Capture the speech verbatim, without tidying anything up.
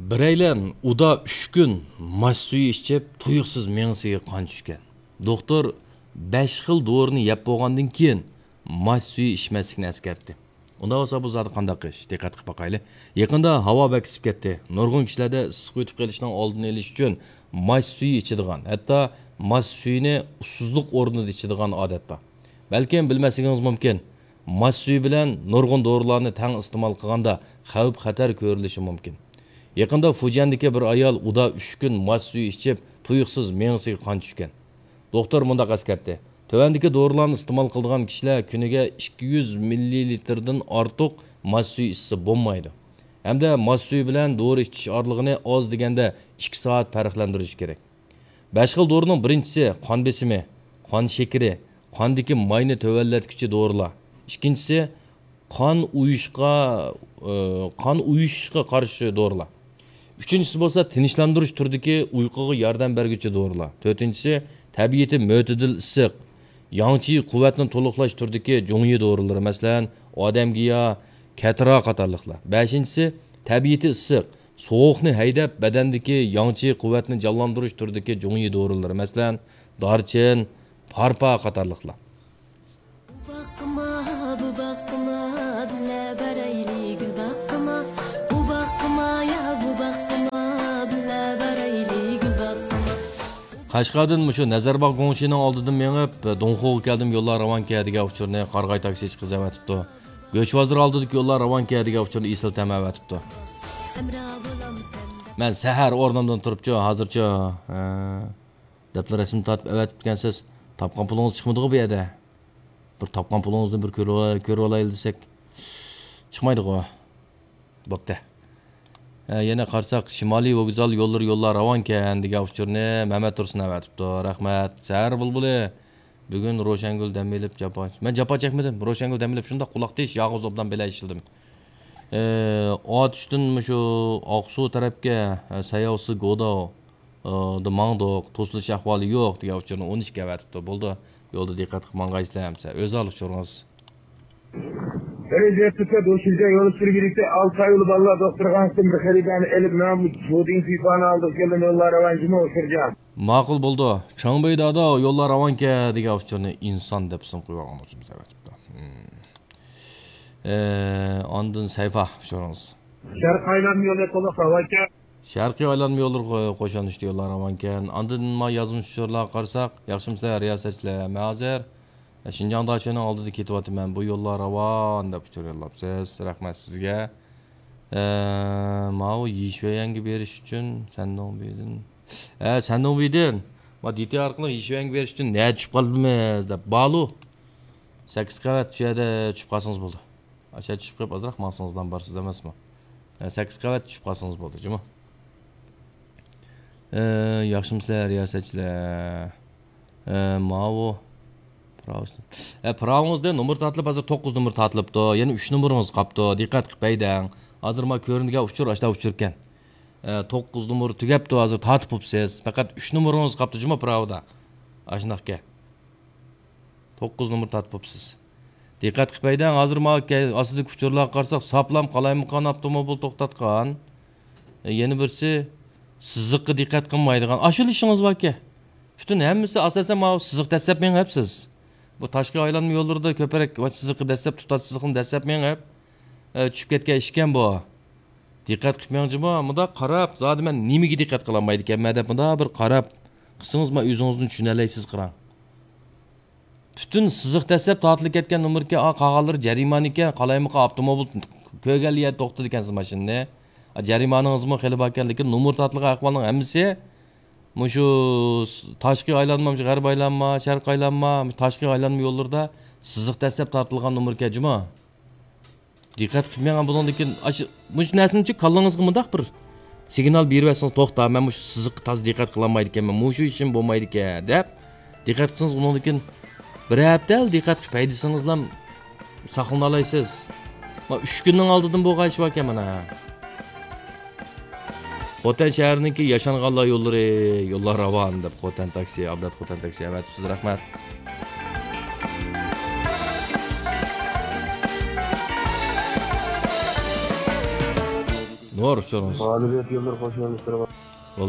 بىرەيلەن ئۇدا ئۈچ كۈن ماچ سۈيى ئىچىپ، تۇيۇقسىز مېڭىسىگە قان چۈشكەن. دوختۇر بەش خىل دورىنى يەپ بولغاندىن كېيىن ماچ سۈيى ئىچمەسلىكنى ئەسكەرتتى. ئۇنداق بولسا بۇ زادى قانداق ئىش؟ دىققەت قىلىپ باقايلى. يېقىندا ھاۋا بەك ئىسسىپ كەتتى. نۇرغۇن كىشىلەردە ئىسسىق يۇتۇپ قېلىشنىڭ ئالدىنى ئېلىش ئۈچۈن ماچ سۈيى ئىچىدىغان، ھەتتا ماچ سۈيىنى ئۇسسۇزلۇق ئورنىدا ئىچىدىغان ئادەت بار. بەلكىم بىلمەسلىكىڭىز مۇمكىن، ماچ سۈيى بىلەن نۇرغۇن دورىلارنى تەڭ ئىستېمال قىلغاندا خەۋپ-خەتەر كۆرۈلۈشى مۇمكىن. يېقىندا فۇجيەندىكى بىر ئايال ئۇدا ئۈچ كۈن ماچ سۈيى ئىچىپ، تۇيۇقسىز مېڭىسىگە قان چۈشكەن. دوختۇر مۇنداق ئەسكەرتتى: تۆۋەندىكى دورىلارنى ئىستېمال قىلىدىغان كىشىلەر كۈنىگە ئىككى يۈز مىللىلىتىردىن ئارتۇق ماچ سۈيى ئىچسە بولمايدۇ. ھەمدە ماچ سۈيى بىلەن دورا ئىچىش ئارىلىقىنى ئاز دېگەندە ئىككى سائەت پەرقلەندۈرۈش كېرەك. بەش خىل دورىنىڭ بىرىنچىسى قان بېسىمى، قان شېكىرى، قاندىكى ماينى تۆۋەنلەتكۈچى دورىلار. ئىككىنچىسى قان ئۇيۇشقا، ئى، قان ئۇيۇشۇشقا قارشى دورىلار. ئۈچىنچىسى بولسا تىنچلاندۇرۇش تۈرىدىكى ئۇيقۇغا ياردەم بەرگۈچى دورىلار. تۆتىنچىسى تەبىئىتى مۆتىدىل ئىسسىق، ياڭچى قۇۋۋەتنى تولۇقلاش تۈرىدىكى جۇڭيى دورىلىرى، مەسىلەن، ئادەمگىيا، كەتىرا قاتارلىقلار. بەشىنچىسى تەبىئىتى ئىسسىق، سوغۇقنى ھەيدەپ، بەدەندىكى ياڭچى قۇۋۋەتنى جانلاندۇرۇش تۈرىدىكى جۇڭيى دورىلىرى، مەسىلەن، دارچىن، پارپا قاتارلىقلار. بۇ باغقىما، بۇ باغقىما، بىللە بارايلى گۈل باغقىما. بۇ باغقىما، يا بۇ باغقىما، بىللە بارايلى گۈل باغقىما. قەشقەردىن مۇشۇ نەزەرباغ گۇڭشىنىڭ ئالدىدىن مېڭىپ، دۇڭخۇغا كەلدىم، يوللار راۋانكەن دېگەن ئۇچۇرنى قارىغاي تاكسىچى قىز ئەۋەتىپتۇ. گۆش بازىرى ئالدىدىكى يوللار راۋانكەن دېگەن ئۇچۇرنى ئېسىل تەم ئەۋەتىپتۇ. مەن سەھەر ئورنۇمدىن تۇرۇپچۇ، ھازىرچۇ، ھە، دەپلا رەسىم تارتىپ ئەۋەتىپتىكەنسىز. تاپقان پۇلىڭىز چىقمىدىغۇ بۇ يەردە؟ بىر تاپقان پۇلىڭىزنى بىر كۆرۈۋالاي-، كۆرۈۋالايلى دېسەك. چىقمايدىغۇ. بوپتۇ. ھە، يەنە قارىساق، شىمالىي ۋوگزال يوللىرى يوللار راۋانكەن دېگەن ئۇچۇرنى مەمەت تۇرسۇن ئەۋەتىپتۇ. رەھمەت. سەھەر بۇلبۇلى. بۈگۈن روشەنگۈل دەم ئېلىپ جاپا. مەن جاپا چەكمىدىم. روشەنگۈل دەم ئېلىپ شۇنداق قۇلاق تىش ياغىز ئوبدان بېلەت ئىشلىدىم. ئى، ئاتۇشتىن مۇشۇ ئاقسۇ تەرەپكە، ئە، سەيياۋسى گوداۋ، ئى، دا ماڭدۇق. توسۇلۇش ئەھۋالى يوق دېگەن ئۇچۇرنى ئون ئىككى ئەۋەتىپتۇ. بولدى. يولدا دىققەت قىلىپ ماڭغايسىلەر ئەمسە. ئۆزى ئالىدۇ ئۇچۇرىڭىز. بىرىنچى ئەپتىكە دوشىجا يول سۈرگۈلۈكتە ئالتە ئايلىق بالىلار دوختۇرخانىسىدىن بىر خېرىدارنى ئېلىپ، مەن بۇ جۇدىڭ پىپانى ئالدىغا كەلدىم، يوللار راۋان جۇمۇ ئۇچۇرجان. ماقۇل بولدى. چاڭبېي دادا، يوللار راۋانكەن دېگەن ئۇچۇرنى ئىنسان دەپ سىم قويۇۋالغان ئۇچۇرىمىز ئەۋەتىپتۇ. ئاندىن سەيفا ئۇچۇرىڭىز. شەرقىي ئايلانما يولى تولۇق راۋانكەن. شەرقىي ئايلانما يوللىرى قو-، قوشۇن ئۈستى يوللار راۋانكەن. ئاندىن ما يازمىش ئۇچۇرلارغا قارىساق، ياخشىمۇسىلەر رىياسەتچىلەر؟ مەن ھازىر شىنجاڭ داچىنىڭ ئالدىدا كېتىۋاتىمەن، بۇ يوللار راۋان دەپ ئۇچۇر يوللاپسىز. رەھمەت سىزگە. ئە، ماۋۇ يىشۈەيەنگە بېرىش ئۈچۈن سەندۇڭبىدىن. ئە، سەندۇڭبىدىن. ما دىتى ئارقىلىق يىشۈەيەنگە بېرىش ئۈچۈن نەدە چۈشۈپ قالدىمىز دەپ. بالۇ. سەككىز قەۋەت شۇ يەردە چۈشۈپ قالسىڭىز بولدى. ئاشۇ چۈشۈپ قېلىپ ئازراق ماڭسىڭىزلا بارسىز ئەمەسمۇ؟ ئە، سەككىز قەۋەت چۈشۈپ قالسىڭىز بولدى، جۇمۇ. ئە، ياخشىمۇسىلەر، رىياسەتچىلەر؟ ئە، ماۋۇ. پىراۋىسى. ئە، پىراۋىڭىزدا نومۇر تارتىلىپ، ھازىر توققۇز نومۇر تارتىلىپتۇ. يەنە ئۈچ نومۇرىڭىز قاپتۇ. دىققەت قىلىپ ھەيدەڭ. ھازىر ما كۆرۈنگەن ئۇچۇر، ئاشۇنداق ئۇچۇركەن. ئە، توققۇز نومۇر تۈگەپتۇ، ھازىر تارتىپ بوپسىز. پەقەت ئۈچ نومۇرىڭىز قاپتۇ، جۇمۇ پىراۋىدا. ئاشۇنداقكەن. توققۇز نومۇر تارتىپ بوپسىز. دىققەت قىلىپ ھەيدەڭ، ھازىر ماۋۇ كە-، ئاستىدىكى ئۇچۇرلارغا قارىساق، ساپلام قالايمىقان ئاپتوموبىل توختاتقان. ئە، يەنە بىرسى، سىزىققا دىققەت قىلمايدىغان. ئاشۇلا ئىشىڭىز باركەن. پۈتۈن ھەممىسى ئاساسەن ماۋۇ سىزىق دەسسەپ مېڭىپ سىز. بۇ تاشقى ئايلانما يوللىرىدا كۆپرەك ۋە سىزىققا دەسسەپ، تۇتاش سىزىقنى دەسسەپ مېڭىپ، ئە، چۈشۈپ كەتكەن ئىشكەن بۇ. دىققەت قىلىپ مېڭىڭ جۇمۇ، مۇنداق قاراپ، زادى مەن نېمىگە دىققەت قىلالمايدىكەنمەن دەپ مۇنداق بىر قاراپ قىلسىڭىز، مانا ئۆزىڭىزنى چۈشىنەلەيسىز، قاراڭ. پۈتۈن سىزىق دەسسەپ تارتىلىپ كەتكەن نومۇركەن، ئا، قالغانلىرى جەرىمانىكەن، قالايمىقان ئاپتوموبىل كۆرگەنلا يەردە توختىتىدىكەنسىز ماشىنىنى. ئا، جەرىمانىڭىزمۇ خېلى باركەن، لېكىن نومۇر تارتىلغان ئەھۋالنىڭ ھەممىسى مۇشۇ س-، تاشقى ئايلانما، مۇشۇ غەربىي ئايلانما، شەرقىي ئايلانما، مۇشۇ تاشقى ئايلانما يوللىرىدا سىزىق دەسسەپ تارتىلغان نومۇركەن جۇمۇ. دىققەت قىلىپ مېڭىڭ، بۇنىڭدىن كېيىن ئاشۇ، مۇشۇ نەرسىنىچۇ كاللىڭىزغا مۇنداق بىر سىگنال بېرىۋەتسىڭىز، توختا، مەن مۇشۇ سىزىققا تازا دىققەت قىلالمايدىكەنمەن، مۇشۇ ئىشىم بولمايدىكەن دەپ دىققەت قىلسىڭىز، ئۇنىڭدىن كېيىن بىر ھەپتە دىققەت قىلىپ ھەيدىسىڭىزلا ساقلىنالايسىز. ما ئۈچ كۈننىڭ ئالدىدىن بولغان ئىش باركەن مانا. خوتەن شەھىرىنىڭكى ياشانغانلار يوللىرى، يوللار راۋان دەپ خوتەن تاكسى، ئابلەت خوتەن تاكسى ئەۋەتىپسىز، رەھمەت. نۇر ئۇچۇرىڭىز. غالىبىيەت يوللىرى خوش يوللىرى.